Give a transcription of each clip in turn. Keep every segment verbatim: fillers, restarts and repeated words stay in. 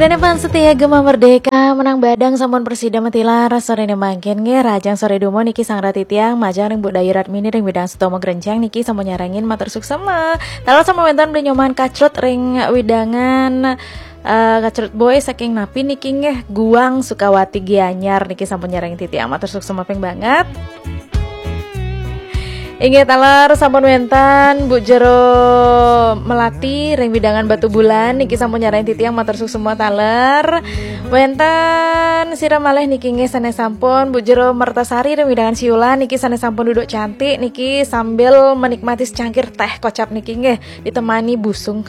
Dene fans setia Gema Merdeka, menang badang sampun presida matilar, sorene mangkin nggih, rajang sore dumo niki Sang Rati Tiang, majeng ring Bu Dayu Ratmini ring widang Sutomo Grenjang niki sampun nyarengin, matur suksema. Taler sampun wenten Beli Nyoman Kacrut ring widangan, eh, Kacrut Boy saking napi niki nggih, Guang Sukawati Gianyar niki sampun nyarengin titiang, matur suksema ping banget. Inggih taler sampun wenten Bu Jero Melati ring widangan Batu Bulan niki sampun nyarengin titiang, matur suksema taler. Wenten sira malih niki nggih sane sampun Bu Jero Mertasari ring widangan Siulan niki sane sampun duduk cantik niki sambil menikmati secangkir teh kocap niki nggih ditemani busung.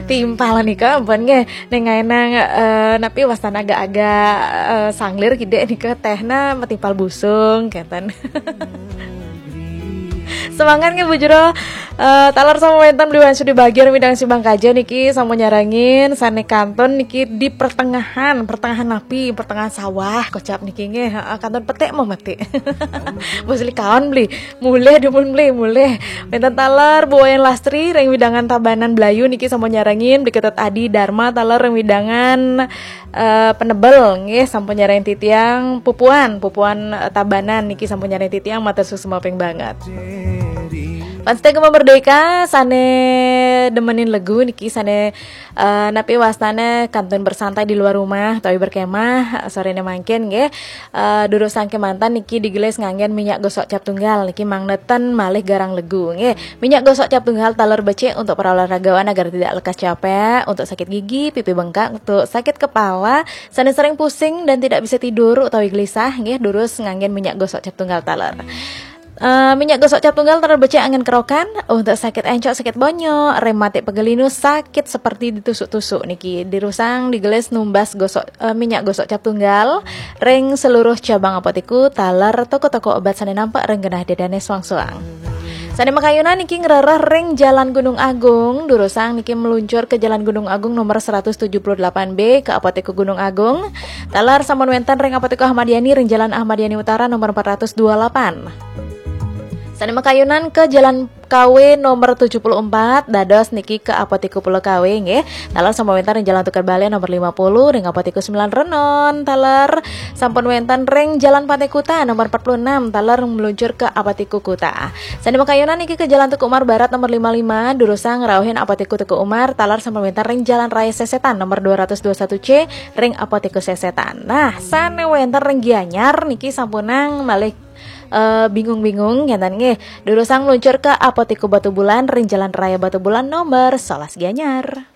Timpal nika ampun nggih. Ning ngaenang, eh, napi wastane agak-agak, eh, sanglir kidek nika tehna matimpal busung kenten. Semangat nggih Bu Jero. Eh, taler sampun wenten Beli Wansu di bagian widang Sibang Kaja niki sampun nyarengin sane kantun niki di pertengahan, pertengahan napi, pertengahan sawah kocap niki nggih. Heeh, kantun petik mau metik. Bos Beli kaon Beli. Mulih dumun Beli, mulih. Wenten taler Bu Wayan Lastri ring widangan Tabanan Blayu niki sampun nyarengin, Beli Ketut Adi Dharma taler ring widangan, eh, Penebel nggih sampun nyarengin titiang, Pupuan, Pupuan, eh, Tabanan niki sampun nyarengin titiang, matur suksema ping banget. Fans setia Gema Merdeka sane demenin legu niki sane, eh, napi wastane kantun bersantai di luar rumah utawi berkemah, eh, sorene mangkin nggih. Eh, durusang kemanten niki digelis nganggen minyak gosok cap tunggal niki mangneten malih garang legu nggih. Minyak gosok cap tunggal taler becik untuk para olahragawan agar tidak lekas capek, untuk sakit gigi, pipi bengkak, untuk sakit kepala, sane sering pusing dan tidak bisa tidur utawi gelisah nggih, durus nganggen minyak gosok cap tunggal taler. Eh, minyak gosok cap tunggal taler becik angin kerokan untuk sakit encok, sakit bonyok, rematik, pegelinu, sakit seperti ditusuk-tusuk niki. Dirusang digelis numbas gosok, eh, minyak gosok cap tunggal ring seluruh cabang apotiku taler toko-toko obat sane nampak ring genah dedane suang-suang. Sane makayunan niki ngrereh ring Jalan Gunung Agung, durusang niki meluncur ke Jalan Gunung Agung nomor seratus tujuh puluh delapan B ke Apotiku Gunung Agung. Taler sampun wenten ring Apotiku Ahmad Yani ring Jalan Ahmad Yani Utara nomor empat ratus dua puluh delapan. Sane makayunan ke Jalan K W nomor tujuh puluh empat, dados niki ke Apotiku Pulau K W nggih. Taler sampun wenten ring Jalan Tukad Bale nomor lima puluh, ring Apotiku Sembilan Renon. Taler sampun wenten ring Jalan Pantai Kuta nomor empat puluh enam, taler meluncur ke Apotiku Kuta. Sane makayunan niki ke Jalan Teuku Umar Barat nomor lima lima, durusang ngrauhin Apotiku Teuku Umar, taler sampun wenten ring Jalan Raya Sesetan nomor dua ratus dua satu C, ring Apotiku Sesetan. Nah, sane wenten ring Gianyar niki sampunang malih, eh, bingung-bingung ngenten nggih. Durusang meluncur ke Apotiku Batu Bulan ring Jalan Raya Batu Bulan nomor sebelas Gianyar.